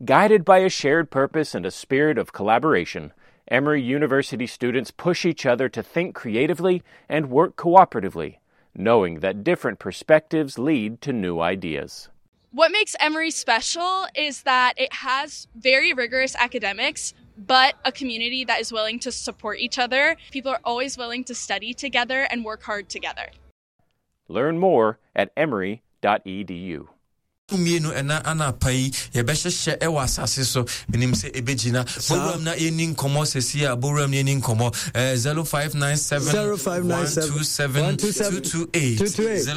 Guided by a shared purpose and a spirit of collaboration, Emory University students push each other to think creatively and work cooperatively, knowing that different perspectives lead to new ideas. What makes Emory special is that it has very rigorous academics, but a community that is willing to support each other. People are always willing to study together and work hard together. Learn more at emory.edu. Mmienu ɛna anapa yi yɛbɛhyehyɛ ɛwɔ asase so menim sɛ ɛbɛgyina bowuram na yɛni nkɔmmɔ sɛsi a bowuram na yɛni nkɔmmɔ 0597 127 228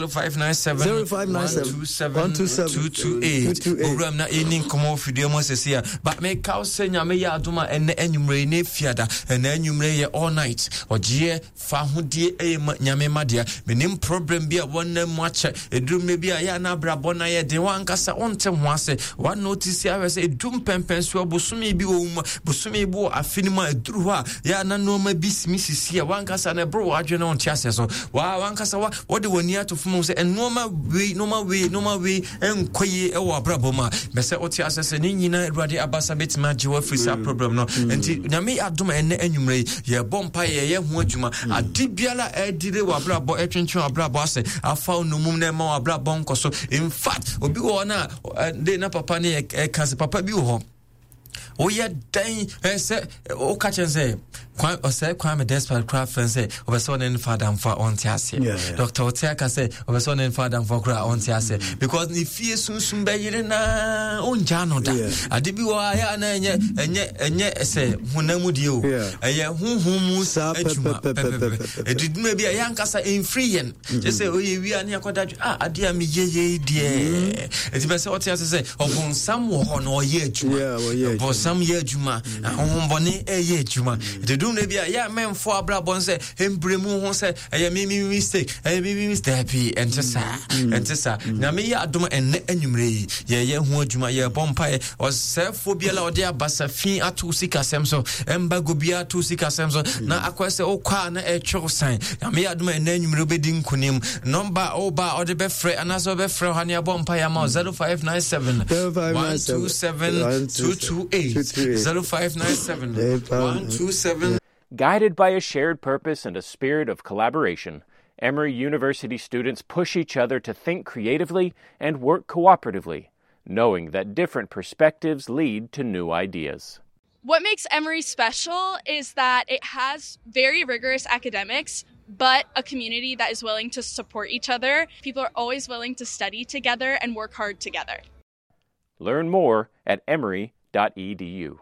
0597 127 228 bowuram na yɛni nkɔmmɔ fidua mu sɛsi a ba meka wo sɛ nyame yɛ adom a ɛnɛ anwummerɛ ne fiada ɛnɛ anwummerɛ yɛ all night ɔgyeɛ Fahodie ɛyɛ ma nyame ma dea. Menim problem bi a wɔnam mu akyɛ. Ɛduru mmerɛ bi a yɛ a na abrabɔ no ayɛ den. Wankasa wonte ho ase. Wa notice ahwɛ sɛ ɛdu mpɛmpɛnsoɔ bosome bi wɔ mu bosome bi wɔ afe no mu a ɛduru hɔ a yɛ a na nneɛma bi simi sisi a wankasa na ɛboro w'adwene na wonte aseɛ so. Wa wankasa wa wɔde w'ani ato fam sɛ nneɛma wei nneɛma wei nneɛma wei nkɔ yie wɔ abrabɔ mu a bɛsɛ wote asɛ sɛ ne nyinaa awurade abasa bɛtumi agye wo afiri saa mm. problem no mm. nti nyame adom ɛnɛ anwummerɛ yi yɛbɔ mpa yɛyɛ ho adwuma mm. ade biara ɛdire wɔ abrabɔ ɛtwentwɛn abrabɔ asɛ afa wo nomum na ɛma wɔ abrabɔ nkɔ so in fact obi wɔ hɔ no a de na papa ne ɛka sɛ papa bi wɔ hɔ woyɛ dɛn sɛ woka kyɛn sɛ kwan ɔsɛ kwame despite koraa fɛn sɛ ɔbɛ sɛ ɔne nfa adamfo a ɔnte aseɛ dɔkta ɔte aka sɛ ɔbɛ sɛ ɔne nfa adamfo koraa ɔnte aseɛ mm. because ne fie sunsun bɛyere naa ɔngya no da ade bi wɔ ha yɛ ana ɛnyɛ ɛnyɛ ɛnyɛ sɛ honam mu deɛ o ɛyɛ honhom mu adwuma pɛpɛpɛ ɛdiduma bi a yɛ ankasa ɛmfiri yɛn kyɛ sɛ ɔyɛ wia ne akɔda dwe ah adeɛ a meyɛ yei deɛ mm-hmm. ɛti bɛ sɛ ɔte ase sɛ ɔbonsam wɔ hɔ na ɔyɛ adwuma ɔbonsam yɛ adwuma mm. ahohombɔne ɛyɛ adwuma ɛti dum no bi a yɛ mɛmfo abrabɔ no sɛ mbrɛ mu ho sɛ ɛyɛ me me mistake ɛyɛ me me mistake daabi ɛnte saa mm. ɛnte saa mm. nyame yɛ adom ɛnnɛ anwummerɛ yi yɛyɛ ho adwuma yɛbɔ mpaeɛ ɔsɛefoɔ biara ɔde abasa fi ato sikasɛm so ɛmbago biara ato sikasɛm so na akɔyɛ sɛ wokɔ a na ɛtwew san nyame yɛ adom a ɛnɛ anwummerɛ wobɛdi nkonim nɔmba a woba a ɔde bɛfrɛ anaasɛ wobɛfrɛ hɔ ne abɔ mpaeɛ ama 0597 127 228 0597 127 Guided by a shared purpose and a spirit of collaboration, Emory University students push each other to think creatively and work cooperatively, knowing that different perspectives lead to new ideas. What makes Emory special is that it has very rigorous academics, but a community that is willing to support each other. People are always willing to study together and work hard together. Learn more at emory.edu.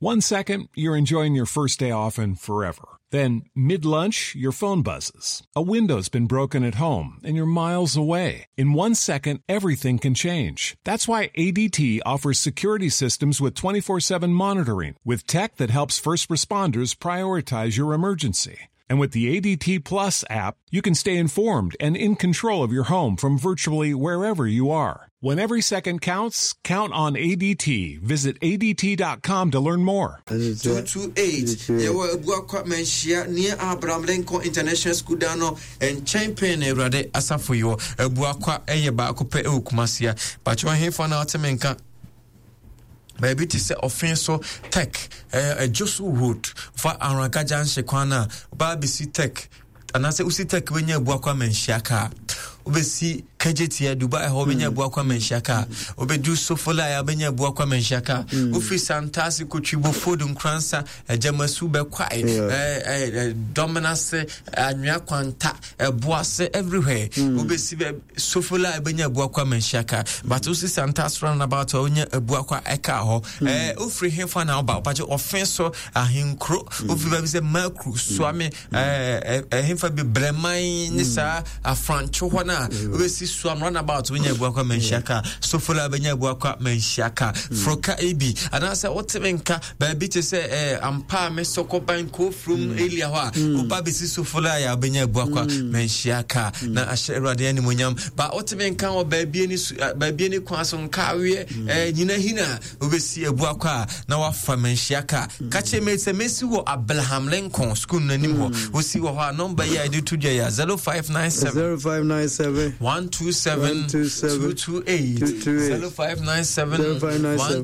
One second, you're enjoying your first day off and forever. Then, mid lunch, your phone buzzes. A window's been broken at home and you're miles away. In one second, everything can change. That's why ADT offers security systems with 24 7 monitoring, with tech that helps first responders prioritize your emergency. And with the ADT Plus app, you can stay informed and in control of your home from virtually wherever you are. When every second counts, count on ADT. Visit ADT.com to learn more. 228 yɛwɔ Abuakwa Manhyia near Abraham Lincoln International School dan no nkyɛn pɛn na Awurade asafo yi wɔ. Abuakwa ɛyɛ baako pɛ ɛwɔ Kumasi a. Bakyɛ ɔhefa na ɔte me nka. Baabi te sɛ ɔfe so tech ɛdwo so road fa Aranka junction kwan no a baa bɛsi tech anaasɛ wosi tech wobɛnya Abuakwa Manhyia kaa wobɛsi kagyetia dubai hɔ wobɛnya mm. Abuakwa Manhyia kaa wobɛdu sofola a wobɛnya Abuakwa Manhyia kaa mm. wofiri santase kotwibo fod nkoransa agyamasu bɛkwae dɔmenase anwea kwanta ɛboase everywhere mm. wobɛsi bɛ sofola a wobɛnya Abuakwa Manhyia kaa but wosi santase roundabout a wonya Abuakwa ɛkaa hɔ wofiri hefa na woba wopagye ɔfe so ahenkuro wofiri baabi sɛ makru suame ɛhefa bi brɛman ne saa afrantwo hɔ no a wobɛsi soam runabout wobɛnya abuakwa manhyia ka sofola wobɛnya abuakwa manhyia ka foroka ebi anaasɛ woteme nka baabi te sɛ ampa a mesɔkɔban kofurom elia hɔ a woba bɛsi sofola a wobɛnya abuakwa manhyia ka na ahyɛ awurade animonyam ba woteme nka wɔ baabi ani kwan so nkaweɛ nyina hina Wobɛsi Abuakwa a na wafa manhyia ka. Ka kyerɛ me sɛ mɛsi wɔ Abraham Lincoln school no anim hɔ. Mm. Wosi wɔ hɔ a nɔmba yi a yɛde to dwa yi a 0597 0597 127 228 0597 127